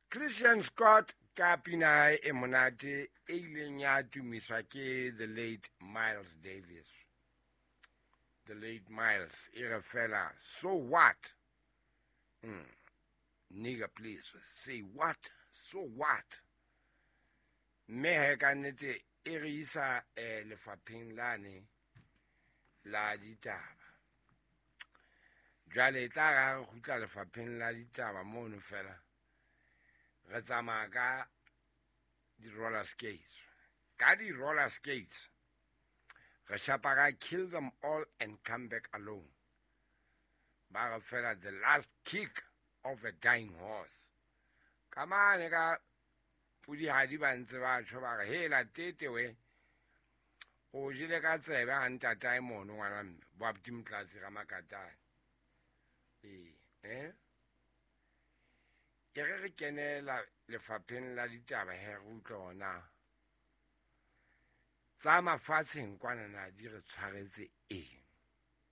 Christian Scott ka pina ya hae e monate e ileng ya tumiswa ke the late Miles Davis. The late Miles e re fela so what? Nigga please say what? So what? Mme he ka nnete e re isa lefapheng lane la ditaba. Jwale e tla ra re kgutla lefapheng la ditaba mono fela re tsamaya ka di-roller skates. Ka di-roller skates re shapa ka kill them all and come back alone. Ba re fela the last kick of a dying horse. Ka mane ka pudihadi ba ntse ba tjho ba re hela tete we o jele ka tsebe ha ntatae mono ngwana mme bo abuti Motlatsi ga Makatane. Ee, eh? E re re kenela lefapheng la ditaba he re utlwe hona tsa mafatsheng kwana na di re tshwaretse eng.